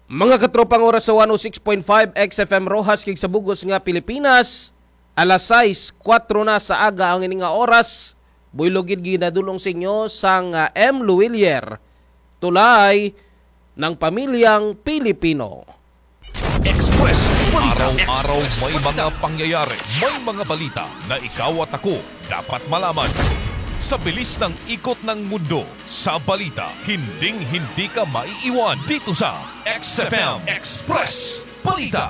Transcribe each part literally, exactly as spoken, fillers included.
Mga katropang oras sa one oh six point five X F M Roxas, kag sa bug-os nga Pilipinas, alas sais kuwatro na sa aga ang ini nga oras. Buylog gid ginadul-ong sa inyo sang, ah, M Luwilier, tulay ng pamilyang Pilipino. Express Balita. Araw-araw Express may Balita. Mga pangyayari, may mga balita na ikaw at ako dapat malaman. Sa bilis ng ikot ng mundo, sa balita, hinding-hindi ka maiiwan dito sa X F M Express Balita.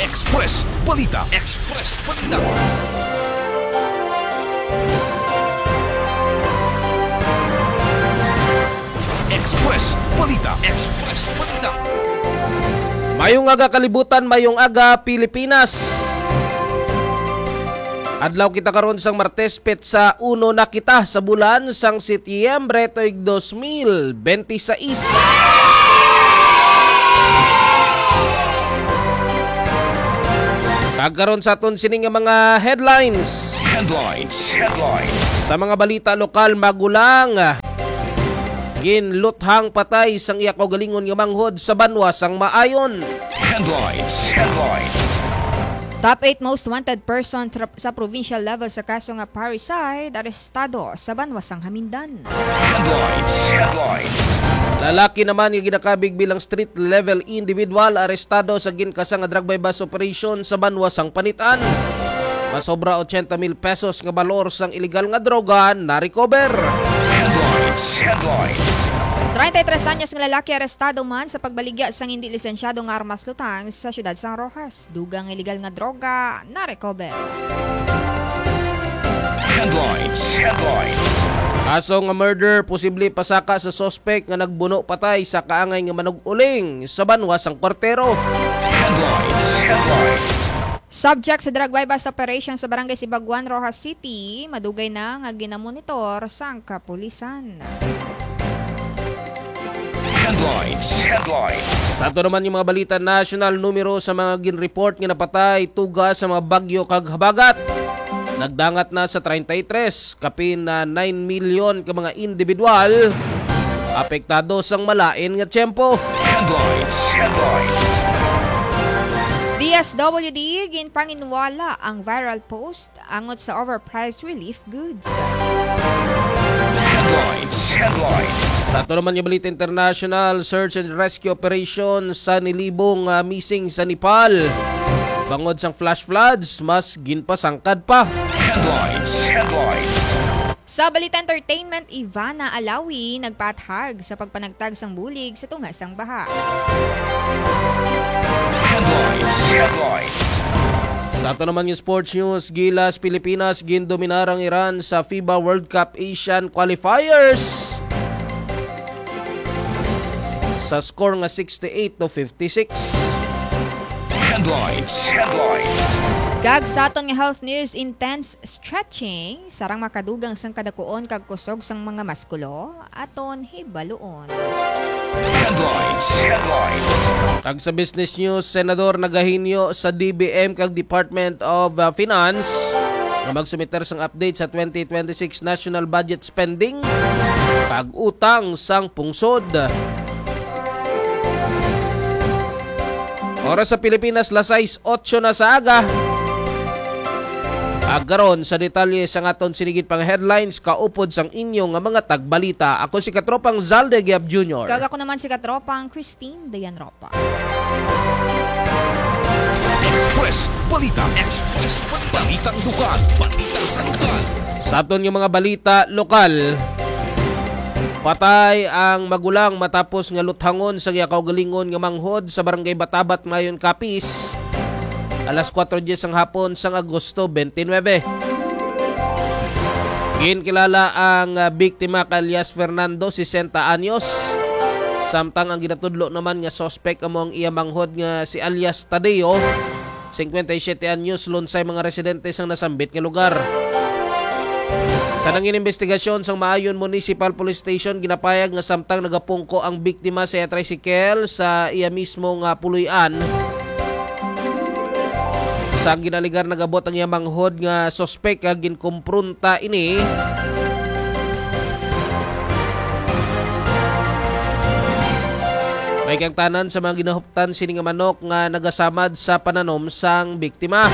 Express Balita. Express Balita. Express Balita. Express Balita. Mayong aga, kalibutan, mayong aga, Pilipinas. Adlaw kita karon sang Martes, petsa uno na kita sa bulan sang Setyembre tuig dos mil benti sais. Kag karon sa aton sini nga mga headlines. Headlines. Headlines. Sa mga balita lokal, magulang ginluthang patay sang iya kaugalingon nga manghod sa banwa sang Maayon. Headlines. Headlines. Top eight most wanted person tra- sa provincial level sa kaso nga parricide, arestado sa banwa sang Hamindan. Headlines. Headlines. Lalaki naman nga ginakabig bilang street level individual, arestado sa ginkasa nga drug buy-bust operation sa banwa sang Panitan. Masobra ochenta mil pesos nga balor sang iligal nga droga na-recover. Headlines. Headlines. Treinta y tres anyos nga lalaki arestado man sa pagbaligya sang indi lisensyado nga armas lutang sa siyudad sang Roxas. Dugang nga iligal nga droga na-recover. Headlines. Headlines. Kaso nga murder, posible pasaka sa suspect nga nagbuno patay sa kaangay nga manug-uling sa banwa sang Kwartero. Headlines. Headlines. Subject sa drug buy-bust operation sa Barangay Sibaguan, Roxas City, madugay na nga ginamonitor sang kapulisan. Headlines. Headlines. Sa ato naman nga mga balita, national numero sa mga ginreport nga napatay tuga sa mga bagyo kag habagat nagdangat na sa treinta y tres, kapin na nine million ka mga individual apektado sang malain nga tiyempo. Headlines. Headlines. D S W D, ginpanginwala ang viral post angot sa overpriced relief goods. Headlines. Headlines. Sa ato naman nga balita international, search and rescue operation sa nilibong, ah, missing sa Nepal. Bangod sang flash floods, mas ginpasangkad pa. Headlines. Headlines. Sa balita entertainment, Ivana Alawi nagpaathag sa pagpanagtag sang bulig sa tunga sang baha. Headlines. Headlines. Sa ato naman nga sports news, Gilas, Pilipinas, gindominar ang Iran sa FIBA World Cup Asian Qualifiers sa score nga sixty-eight to fifty-six. Headlines. Headlines. Kag sa aton nga health news, intense stretching sarang makadugang sang kadakuon kag kusog sang mga maskulo, aton hibaluon. Headlines. Headlines. Kag sa business news, Senador nagahinyo sa D B M kag Department of, uh, Finance nga magsumiter sang update sa twenty twenty-six national budget spending kag utang sang pungsod. Oras sa Pilipinas, las sais otso na sa aga. Agaron sa detalye sang aton sinigit pang headlines, kaupod sang inyo nga mga tagbalita. Ako si Katropang Zalde Giab Junior. Kag ako naman si Katropang Christine Dayan Ropa. Express Balita. Express Balita. Balitang lokal. Balitang sa lokal. Sa aton nga mga balita lokal, patay ang magulang matapos nga luthangon sa iya kaugalingon nga manghod sa Barangay Batabat, Maayon, Capiz, alas kuwatro diyes sang hapon sang Agosto twenty-nine. Ginkilala ang, ah, biktima kay alias Fernando, sesenta anyos, samtang ang ginatudlo naman nga suspek amo ang iya manghod nga si alias Tadeo, singkwenta y siyete anyos, lunsay mga residente sang nasambit nga lugar. Sa nangin imbestigasyon sang Maayon Municipal Police Station, ginapayag nga samtang nagapungko ang biktima sa iya tricycle sa iya mismo nga puloy-an, sang ginaligar nagabot ang iya manghod nga suspek, kag ginkumpronta ini. Ay kang tanan sa mga ginahuptan sini nga manok nga nagasamad sa pananom sang biktima.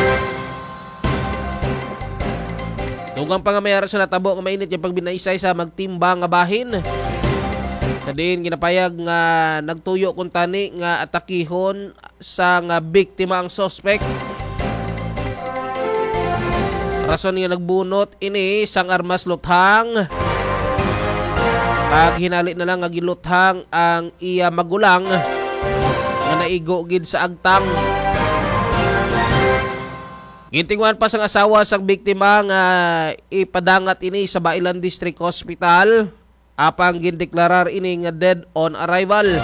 Dugang pa nga may ara sa natabo nga mainit nga pagbinaysay sa magtimbang nga bahin. Sa diin ginapayag nga nagtuyo kuntani nga atakihon sa nga biktima ang suspek. Rason nga nagbunot ini sang armas luthang. Kag hinali na lang nga giluthang ang iya magulang nga naigo gid sa agtang. Gintinguhan pa sang asawa sang biktima nga ipadangat ini sa Bailan District Hospital, apang gindeklarar ini nga dead on arrival.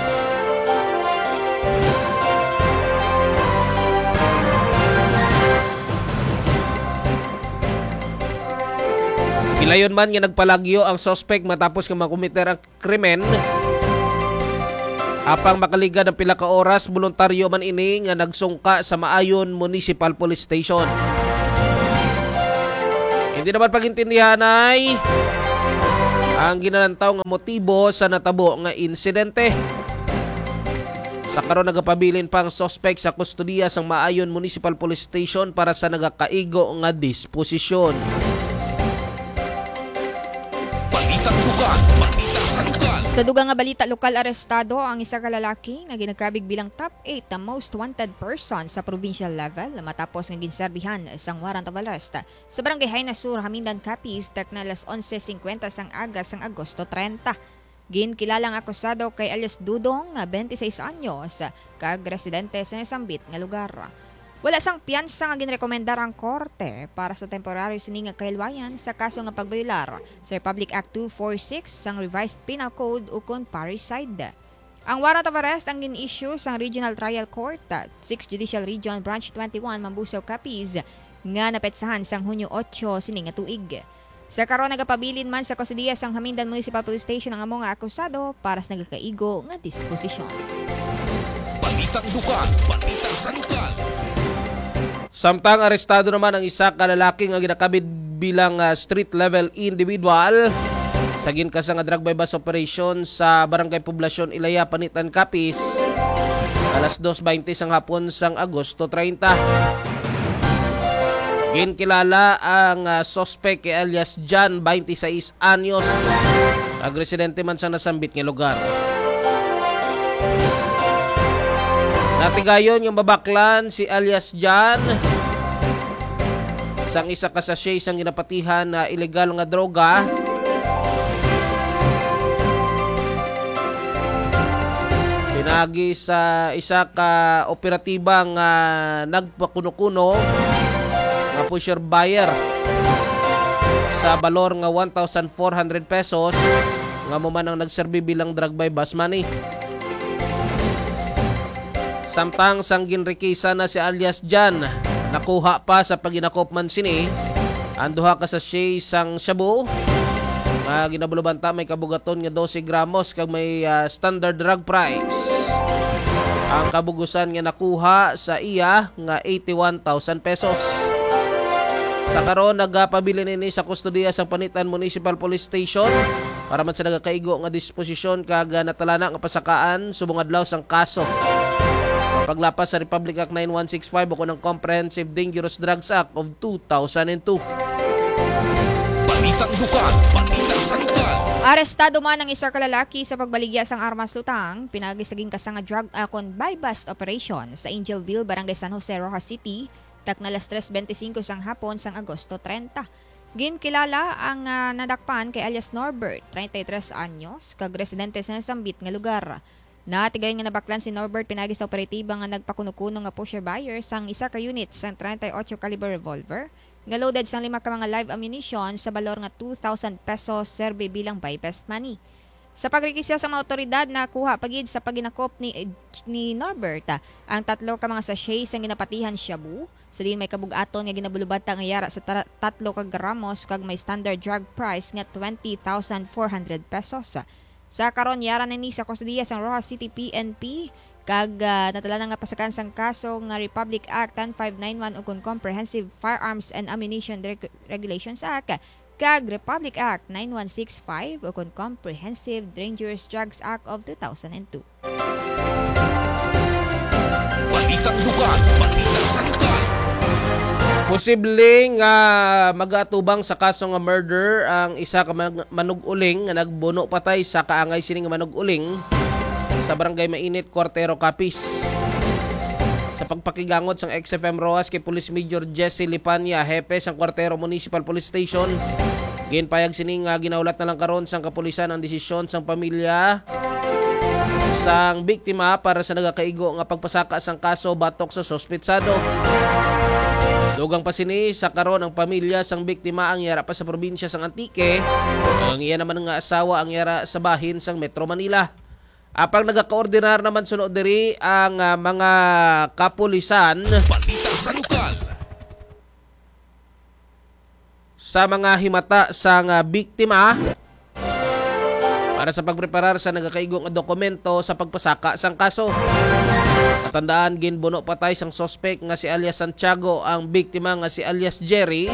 Gilayon man nga nagpalagyo ang suspek matapos nga makomiter ang krimen. Apang makaligad ang pila ka oras, boluntaryo man ini nga nagsungka sa Maayon Municipal Police Station. Hindi naman pagintindihanay ang ginalantaw nga motibo sa natabo nga insidente. Sa karon, nagapabilin pa ang suspek sa kustodiya sang Maayon Municipal Police Station para sa nagakaigo nga disposisyon. Balitang lugar, balita sa lugar. Sa dugang nga balita lokal, arestado ang isa ka lalaki nga ginakabig bilang top eight na most wanted person sa provincial level matapos nga ginserbihan sang warrant of arrest sa Barangay Jaina Sur, Jamindan, Capiz, takna alas onse singkwenta sang aga sang Agosto treinta. Ginkilala ang akusado kay alias Dudong, nga twenty-six anyos, kag residente sa nasambit nga lugar. Wala sang piyansa nga ginrekomendar ang korte para sa temporaryo sini nga kahilwayan sa kaso nga pagbayolar sa Republic Act two four six sang Revised Penal Code ukon parricide. Ang warrant of arrest ang gin-issue sang Regional Trial Court, Sixth Judicial Region, Branch twenty-one, Mambusao, Capiz, nga napetsahan sang Hunyo otso sini nga tuig. Sa karon, nagapabilin man sa kustodiya sang Jamindan Municipal Police Station ang amo nga akusado para sa nagakaigo nga disposisyon. Balitang lugar, balita sa lugar. Samtang arestado naman ang isa ka lalaki nga ginakabid bilang, ah, street level individual sa ginkasa nga drug buy-bust operation sa Barangay Poblacion Ilaya, Panitan, Capiz, alas dos baynte sang hapon sang Agosto treinta. Ginkilala ang, ah, suspek kay alias John, twenty-six anyos, ag residente man sa nasambit nga lugar. Natigayon nga mabaklan si alias John sang isa ka sachet sang ginapatihan na illegal nga droga. Pinagi sa isa ka operatiba nga nagpakuno-kuno nga pusher buyer sa balor nga one thousand four hundred pesos, nga amo man ang nagserbi bilang drug buy-bust money. Samtang sang ginrikisan na si alias John, nakuha pa sa paghinakop man sini ang duha ka sachet sang shabu nga ginabulobanta may kabugaton nga dose gramos kag may, ah, standard drug price. Ang kabugusan nga nakuha sa iya nga eighty-one thousand pesos. Sa karon, nagapabilin ini sa kustodiya sa Panitan Municipal Police Station para man sa nagakaigo nga disposisyon kag, ah, natalana nga pasakaan subong adlaw sang kaso nga paglapas sa Republic Act nine one six five ukon ang Comprehensive Dangerous Drugs Act of two thousand and two. Balitang lugar, balita sa lugar. Arestado man ang isa ka lalaki sa pagbaligya sang armas luthang, pinagi sa ginkasa nga drug, ah, kon buy-bust operation sa Angelville, Barangay San Jose, Roxas City, takna alas tres bente singko sang hapon sang Agosto treinta. Ginkilala ang, ah, nadakpan kay alias Norbert, treinta y tres anyos, kag residente sa nasambit nga lugar. Natigayon nga nabaklan si Norbert pinagi sa operatiba nga nagpakuno-kuno nga pusher buyer sang isa ka unit sang treinta y ocho caliber revolver nga loaded sang lima ka mga live ammunition sa balor nga two thousand pesos, serbi bilang buy-bust money. Sa pagrekisa sa mga awtoridad, nakuha pa gid sa paghinakop ni, ni Norbert, ah, ang tatlo ka mga sachet sang ginapatihan shabu, sa diin may kabug-aton nga ginabulubanta nga yara sa tara-, tatlo ka gramos kag may standard drug price nga twenty thousand four hundred pesos. Sa karon, yara na ni sa kustodiya sang Roxas City P N P, kag, ah, natalana nga pasakaan sang kaso nga Republic Act ten five nine one ukon Comprehensive Firearms and Ammunition Reg-, Regulations Act kag Republic Act nine one six five ukon Comprehensive Dangerous Drugs Act of two thousand and two. Balitang lugar, balita sa lugar. Posible nga mag-atubang sa kaso nga murder ang isa ka man- manug-uling nga nagbuno patay sa kaangay sini nga manug-uling sa Barangay Mainit, Cuartero, Capiz. Sa pagpakigangot sang X F M Roxas kay Police Major Jesse Lipanya, hepe sang Cuartero Municipal Police Station, ginpayag sini nga ginahulat na lang karon sang kapulisan ang desisyon sang pamilya sang biktima para sa nagakaigo nga pagpasaka sang kaso batok sa suspetsado. Dugang pa sini, sa karon ang pamilya sang biktima ang yara pa sa probinsya sang Antique, ang iya naman nga asawa ang yara sa bahin sang Metro Manila. Apang nagakoordinar naman suno diri ang, ah, mga kapulisan Balita sa lokal. Sa mga himata sang, ah, biktima para sa pagpreparar sa nagakaigo nga dokumento sa pagpasaka sang kaso. Matandaan, ginbuno patay sang suspek nga si alias Santiago ang biktima nga si alias Jerry.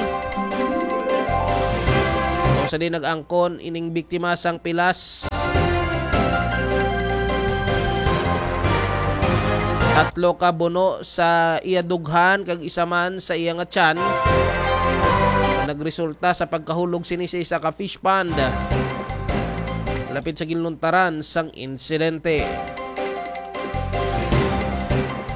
Kung sa di nag-angkon ining biktima sang pilas, tatlo ka buno sa iya dughan kag isa man sa iya nga tiyan, nagresulta sa pagkahulog sini sa isa ka fish pond lapit sa ginluntaran sang insidente.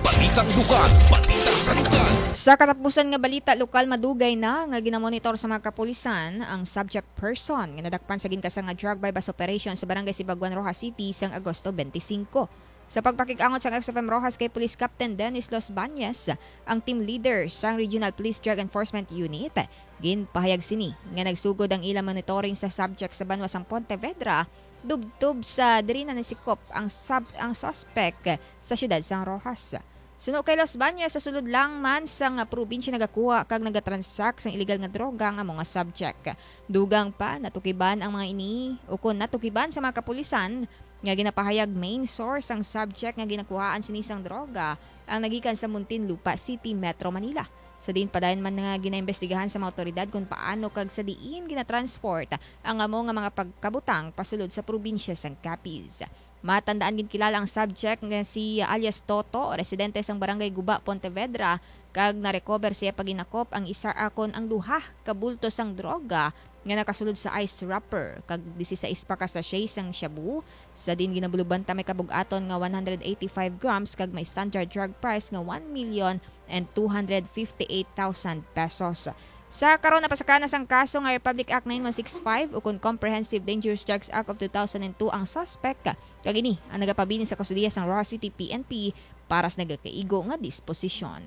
Balitang lugar, balita sa lugar. Sa katapusan nga balita, lokal, madugay na nga ginamonitor sa mga kapulisan ang subject person nga nadakpan sa ginkasa nga drug buy-bust operation sa Barangay Sibaguan, Roxas City sang Agosto twenty-five. Sa pagpakig-angot sang X F M Roxas kay Police Captain Dennis Los Bañez, ang team leader sang Regional Police Drug Enforcement Unit, ginpahayag sini nga nagsugod ang ila monitoring sa subject sa banwa sang Pontevedra, tubtob sa diri na nasikop ang sub-, ang suspect sa siyudad sang Roxas. Suno kay Los Bañez, sa sulod lang man sang probinsya nagakuha kag nagatransak sang illegal nga droga ang amo nga subject. Dugang pa, natukiban ang mga ini, ukon natukiban sa mga kapulisan nga ginapahayag main source sang subject nga ginakuhaan sini sang droga ang nagikan sa Muntinlupa City, Metro Manila. Sa diin padayon man nga ginaimbestigahan sa mga awtoridad kung paano kag sa diin ginatransport ang amo nga mga pagkabutang pasulod sa probinsya sang Capiz. Matandaan, ginkilala ang subject nga si alias Toto, residente sang Barangay Guba, Pontevedra, kag na-recover siya paginakop ang isa akon ang duha ka bulto sang droga nga nakasulod sa ice wrapper kag disisais pa ka sachet sang shabu, sa diin ginabulog banta may kabug-aton nga one hundred eighty-five grams kag may standard drug price nga one million and two hundred fifty-eight thousand pesos. Sa karon, napasaka na sang kaso nga Republic Act nine one six five ukon Comprehensive Dangerous Drugs Act of two thousand and two ang suspect, kag ini ang nagapabilin sa kustodiya sang Roxas City P N P para sa nagakaigo nga disposisyon.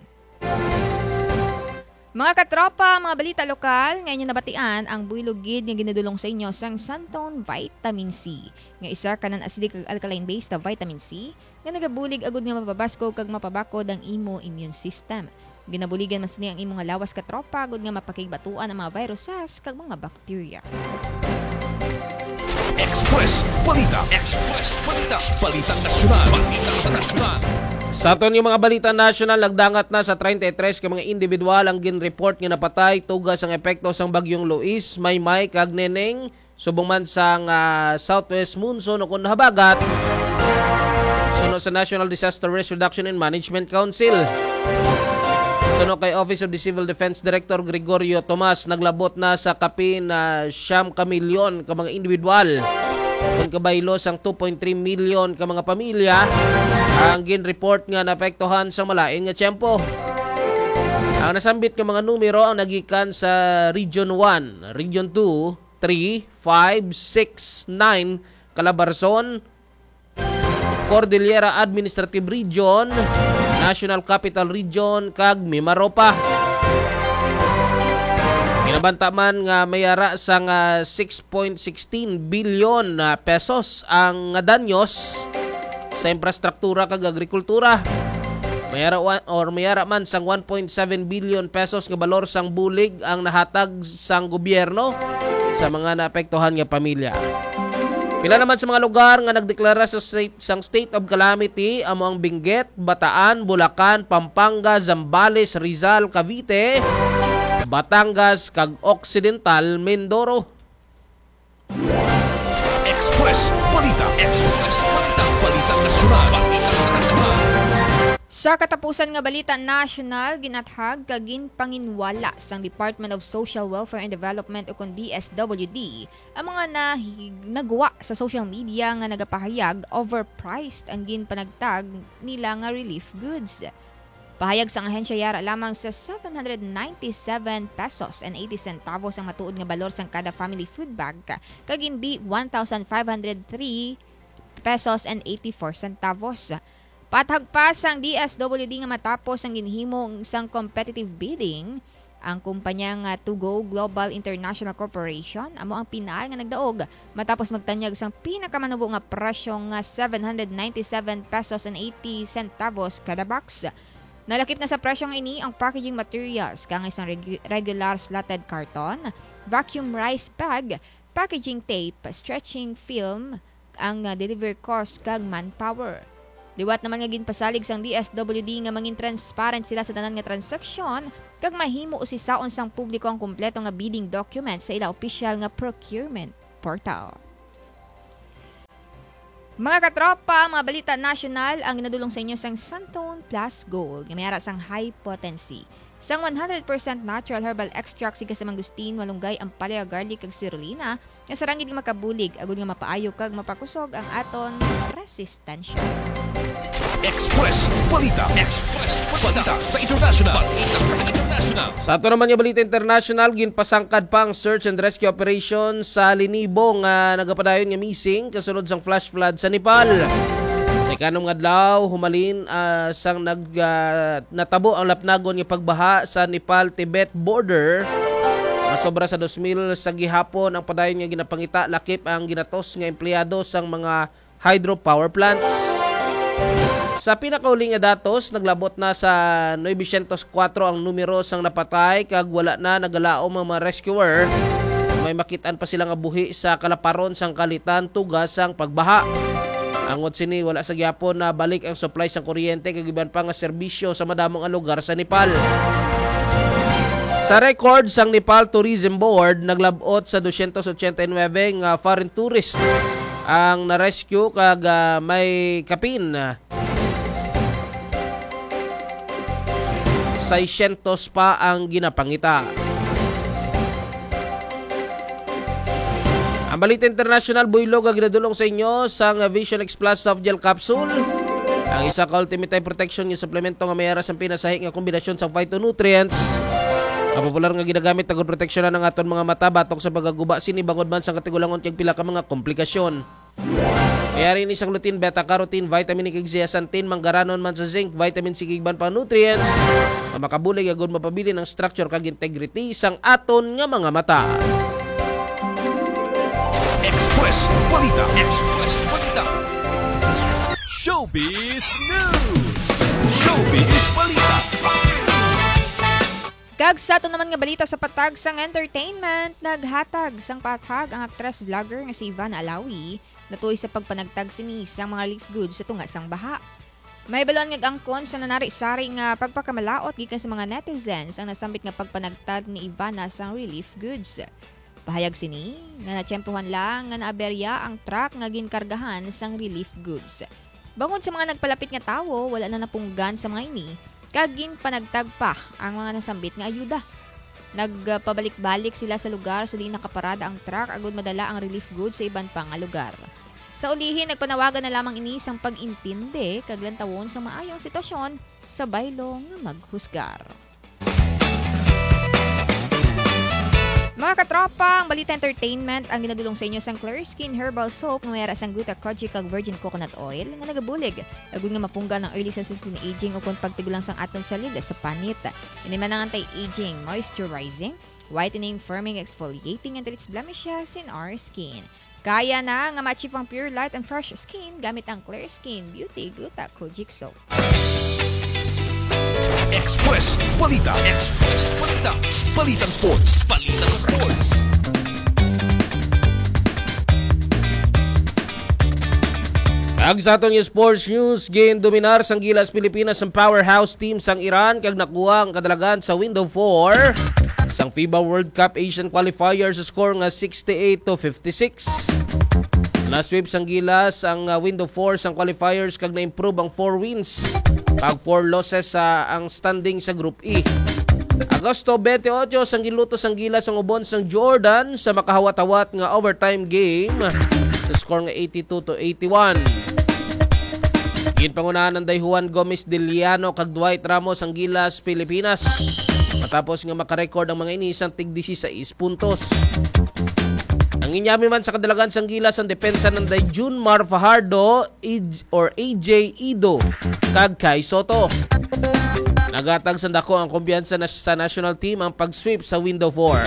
Mga katropa, mga balita lokal nga inyo nabatian, ang buylog gid nga ginadulong sa inyo sang Santon Vitamin C, nga isa ka non-acidic kag alkaline base na vitamin C, nga nagabulig agud nga mapabaskog kag mapabakod ang imo immune system. Ginabuligan man sini ang imo nga lawas, katropa, agud nga mapakigbatuan ang mga viruses kag mga bakterya. Express Balita. Express Balita. Balitang nasyonal. Balita sa nasyonal. Sa aton nga mga balita nasyonal, nagdangat na sa treinta y tres ka mga individual ang ginreport nga napatay tuga sang epekto sang Bagyong Luis, Maymay, kag Neneng, subong man sang, ah, southwest monsoon o kon habagat. Suno sa National Disaster Risk Reduction and Management Council. Suno kay Office of the Civil Defense Director Gregorio Tomas, naglabot na sa kapin na siyam ka milyon ka mga individual, kon kabaylo sang two point three million ka mga pamilya ang ginreport nga naapektuhan sa malain nga tiyempo. Ang nasambit nga mga numero ang nagikan sa Region one, Region two, three, five, six, nine, Calabarzon, Cordillera Administrative Region, National Capital Region, kag Mimaropa. Ginabanta man nga may ara sang six point sixteen bilyon na pesos ang danyos sa infrastruktura kag agrikultura. May ara wa-, or may ara man sang one point seven billion pesos nga balor sang bulig ang nahatag sang gobyerno sa mga naapektuhan nga pamilya. Pila naman sa mga lugar nga nagdeklara sa state, sang state of calamity amo ang Benguet, Bataan, Bulacan, Pampanga, Zambales, Rizal, Cavite, Batangas, kag Occidental Mindoro. Express Balita. Express Balita. Balita nasyonal. Balita sa nasyonal. Sa katapusan nga balita nasyonal, ginathag kag ginpanginwala sang Department of Social Welfare and Development, ukon D S W D, ang mga nahi-, nagwa sa social media nga nagapahayag overpriced ang ginpanagtag nila nga relief goods. Pahayag sang ahensya, yara lamang sa seven hundred ninety-seven pesos and eighty centavos ang matuod nga balor sang kada family food bag, kag hindi one thousand five hundred three pesos and eighty-four centavos. Pathag pa sang D S W D nga matapos ang ginhimo sang competitive bidding, ang kumpanya nga To Go Global International Corporation amo ang pinal nga nagdaog matapos magtanyag sang pinakamanubo nga presyo nga seven hundred ninety-seven pesos and eighty centavos kada box. Nalakip na sa presyo nga ini ang packaging materials, kaangay sang regu-, regular slotted carton, vacuum rice bag, packaging tape, stretching film, ang, ah, delivery cost, kag manpower. Liwat naman nga ginpasalig sang D S W D nga mangin transparent sila sa tanan nga transaksyon kag mahimo usisaon sang publiko ang kompleto nga bidding document sa ila opisyal nga procurement portal. Mga katropa, mga balita nasyonal ang ginadulong sa inyo sang Santone Plus Gold nga may ara sang high potency sang one hundred percent natural herbal extract sing kasamangustin, malunggay, ampalaya, garlic, kag spirulina, nga sarang gid nga makabulig agud nga mapaayo kag mapakusog ang aton resistensya. Express Balita. Express Balita sa international. Balita sa international. Sa ato naman nga balita international, ginpasangkad pa ang search and rescue operation sa linibo nga nagapadayon nga missing kasunod sang flash flood sa Nepal. Sa ikanom nga adlaw, humalin, ah, sang nag, ah, natabo ang lapnagon nga pagbaha sa Nepal-Tibet border, nga sobra sa dos mil sa gihapon ang padayon nga ginapangita, lakip ang ginatos nga empleyado sang mga hydropower plants. Sa pinakauli nga datos, naglabot na sa nuebe syentos kuwatro ang numero sang napatay, kag wala na nagalaom ang mga rescuer. May makit-an pa sila nga buhi sa kalaparon sang kalitan tungod sang pagbaha. Angot sini, wala sa gihapon nabalik ang supply sang kuryente kag iban pa nga serbisyo sa madamo nga lugar sa Nepal. Sa record sang Nepal Tourism Board, naglab-ot sa dosyentos otsenta y nuebe nga foreign tourist ang na-rescue, kag, ah, may kapin seiscientos pa ang ginapangita. Ang balita international, buylog nga ginadulong sa inyo sang Vision X Plus Soft Gel Capsule, ang isa ka ultimate eye protection nga suplemento nga may ara sang pinasahi nga kombinasyon sa phytonutrients. Ang popular nga ginagamit agud proteksyonan ang aton mga mata batok sa pagkaguba sini bangod man sa katigulangon kag pila ka mga komplikasyon. May ara ini sang lutein, beta-carotene, vitamin E, kag zeaxanthin, manggaranon man sa zinc, vitamin C, kag iban pang nutrients nga makabulig agud mapabilin ang structure kag integrity sang aton nga mga mata. Express Balita. Express Balita. Showbiz News. Showbiz Balita. Kag sa aton naman nga balita sa patag sang entertainment, naghatag sang pahayag ang aktres vlogger nga si Ivana Alawi natuoy sa pagpanagtag sini sang mga relief goods sa tunga sang baha. Mahibaluan nga angkon sa nanari-sari nga pagpakamalaut gikan sa mga netizens ang nasambit nga pagpanagtag ni Ivana sang relief goods. Pahayag sini nga natiyempohan lang nga naaberya ang truck nga ginkargahan sang relief goods. Bangod sa mga nagpalapit nga tawo, wala na napunggan sa mga ini, kag ginpanagtag pa ang mga nasambit nga ayuda. Nagpabalik-balik sila sa lugar sa diin nakaparada ang truck agud madala ang relief goods sa iban pa nga lugar. Sa ulihi, nagpanawagan na lamang ini sang pag-intindi kag lantawon sa maayo ang sitwasyon sa baylo nga maghusgar. Mga katropa, ang balita entertainment ang ginadulong sa inyo sang Clear Skin Herbal Soap nga may ara sang gluta, kojic kag virgin coconut oil nga nagabulig agud nga mapunggan ang early sa skin aging ukon pagtigulang sang aton salida sa panit. Ini man ang anti-aging, moisturizing, whitening, firming, exfoliating, and treats blemishes in our skin. Kaya na nga ma-achieve ang pure light and fresh skin gamit ang Clear Skin Beauty Gluta Kojic Soap. Express Balita. Express Balita. Balitang sports. Balita sa sports. Ag sa aton nga sports news, gindominar sang Gilas Pilipinas ang powerhouse team sang Iran kag nakuha ang kadalagan sa window four sang FIBA World Cup Asian Qualifier sa score nga sixty-eight to fifty-six. Na-sweep sang Gilas ang, ah, window four sang qualifiers kag na-improve ang four wins kag four losses sa ang standing sa Group E. Agosto twenty-eight, sang giluto sang Gilas ang ubon sang Jordan sa makahawat-hawat nga overtime game sa score nga eighty-two to eighty-one. Ginpangunahan ang day Juan Gomez Diliano kag Dwight Ramos ang Gilas Pilipinas, matapos nga makarecord ang mga ini sang tig dieciséis puntos. Ang inyami man sa kadalagan sang Gilas ang depensa ng day Junmar Fajardo, Ij-, or A J Ido, kag Kai Soto. Nagatag sa dako ang kumpiyansa na sa national team ang pag-sweep sa window four.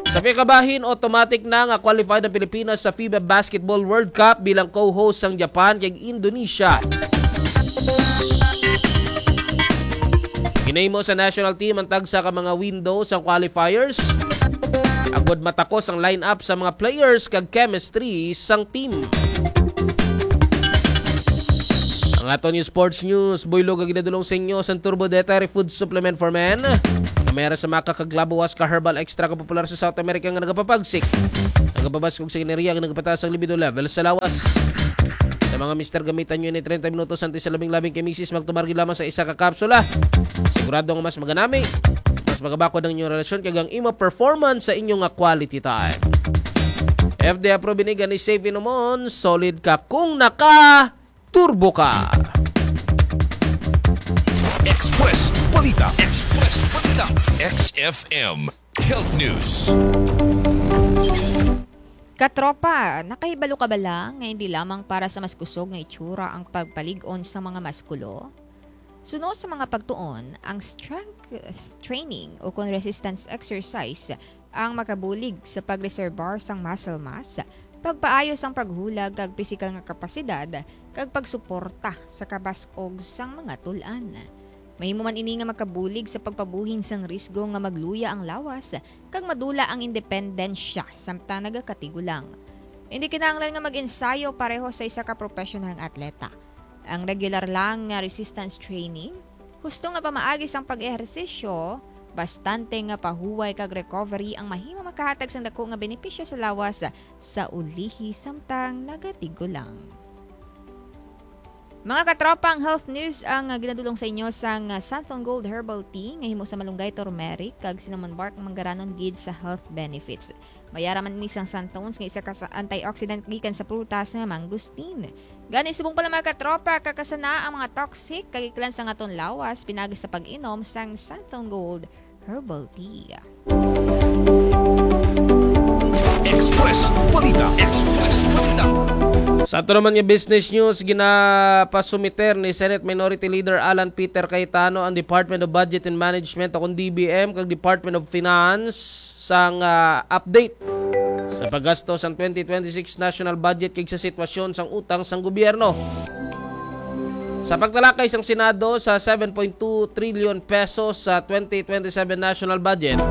Sa pikabahin, automatic na nga qualified ang Pilipinas sa FIBA Basketball World Cup bilang co-host sang Japan kag Indonesia. Ginahimo sa national team ang tagsa ka mga window sa qualifiers, agod matakos ang lineup sa mga players kag chemistry sang team. Ang aton nga sports news, buylog nga ginadulong sa inyo sang Turbo Dietary Food Supplement for Men. Nga may ara sa maka kag labuwas ka herbal extra ka popular sa South America nga nagapapagsik, nagapabaskog sa enerhiya, nga nagapataas ang libido level sa lawas. Sa mga mister, gamitan nyo ini treinta minutos antes sa labing-labing kay misis, magtumar gid lamang sa isa ka kapsula. Sigurado nga mas maganami, mas magabakod ang inyong relasyon kag ang imo performance sa inyo nga quality time. F D A approved ini, gani safe inumon, solid ka kung naka turbo ka. Express Balita. Express Balita. X F M Health News. Katropa, nakahibalo ka bala nga hindi lamang para sa mas kusog nga itsura ang pagpalig-on sa mga maskulo? Suno sa mga pagtuon, ang strength training o kon resistance exercise ang makabulig sa pagreserbar sang muscle mass, pagpaayo sang paghulag kag pisikal nga kapasidad, kag pagsuporta sa kabas-og sang mga tul-an. Mahimo man ini nga makabulig sa pagpabuhin sang risgo nga magluya ang lawas kag madula ang independensya samtang nagakatigulang. Indi kinahanglan nga mag-ensayo pareho sa isa ka professional nga atleta. Ang regular lang nga resistance training, husto nga pamaagi sang pag-ehersisyo, bastante nga pahuway kag recovery ang mahimo makahatag sang dako nga benepisyo sa lawas sa ulihi samtang nagatigulang. Mga katropa, ang health news ang, ah, ginadulong sa inyo sang, ah, Santon Gold Herbal Tea nga himo sa malunggay, turmeric, kag cinnamon bark, manggaranon gid sa health benefits. May ara man ini sang santones nga isa ka sa antioxidant gikan sa prutas nga mangosteen. Gani, subong pa lang, mga katropa, kakasana ang mga toxic kag iklan sang aton lawas pinagi sa pag-inom sang Santon Gold Herbal Tea. Express Balita. Express Balita. Sa ato naman nga business news, ginapasumiter ni Senate Minority Leader Alan Peter Cayetano ang Department of Budget and Management, o kon D B M, kag Department of Finance sang, ah, update sa paggasto sang twenty twenty-six national budget kag sa sitwasyon sang utang sang gobyerno. Sa pagtalakay sang Senado sa seven point two trillion pesos sa twenty twenty-seven national budget,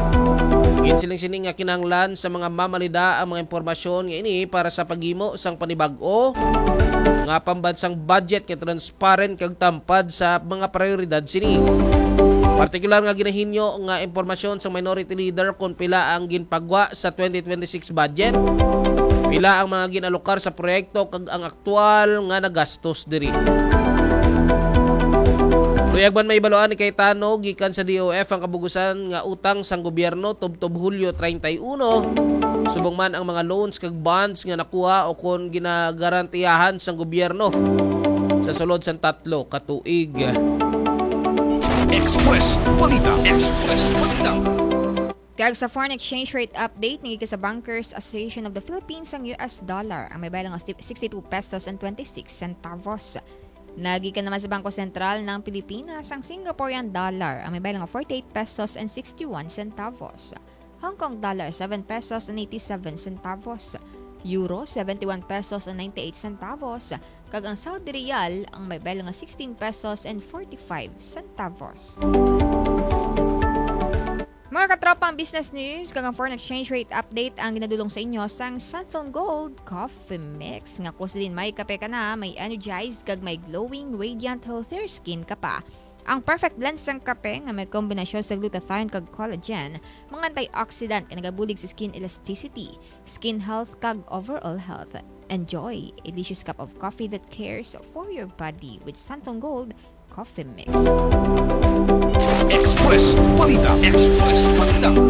ginsiling sini nga kinahanglan sa mga mamalida ang mga impormasyon nga ini para sa paghimo sang panibag-o nga pambansang budget nga transparent kag tampad sa mga prioridad sini. Partikular nga ginahinyo nga impormasyon sa Minority Leader kon pila ang ginpagwa sa twenty twenty-six budget, pila ang mga ginalokar sa proyekto kag ang aktual nga nagastos diri. Luyag man mahibaluan ni Cayetano gikan sa D O F ang kabugusan nga utang sang gobyerno tubtob Hulyo treinta y uno, subong man ang mga loans kag bonds nga nakuha o kon ginagarantiyahan sang gobyerno sa sulod sang tatlo ka tuig. Express Balita. Express Balita. Kag sa foreign exchange rate update, nagika sa Bankers Association of the Philippines ang U S dollar ang may baylo nga sixty-two pesos and twenty-six centavos. Nagika naman sa Bangko Sentral ng Pilipinas ang Singaporean dollar ang may baylo nga forty-eight pesos and sixty-one centavos. Hong Kong dollar, seven pesos and eighty-seven centavos. Euro, seventy-one pesos and ninety-eight centavos. Kag ang Saudi Riyal, ang may baylo nga sixteen pesos and forty-five centavos. Mga katropa, ang business news kag ang foreign exchange rate update ang ginadulong sa inyo sang Santon Gold Coffee Mix. Nga kung sa din may kape ka na, may energized kag may glowing, radiant, healthier skin ka pa. Ang perfect blend sang kape nga may kombinasyon sa glutathione kag collagen, mga antioxidant nga nagabulig sa skin elasticity, skin health kag overall health. Enjoy a delicious cup of coffee that cares for your body with Santon Gold Coffee Mix. Express Balita. Express Balita.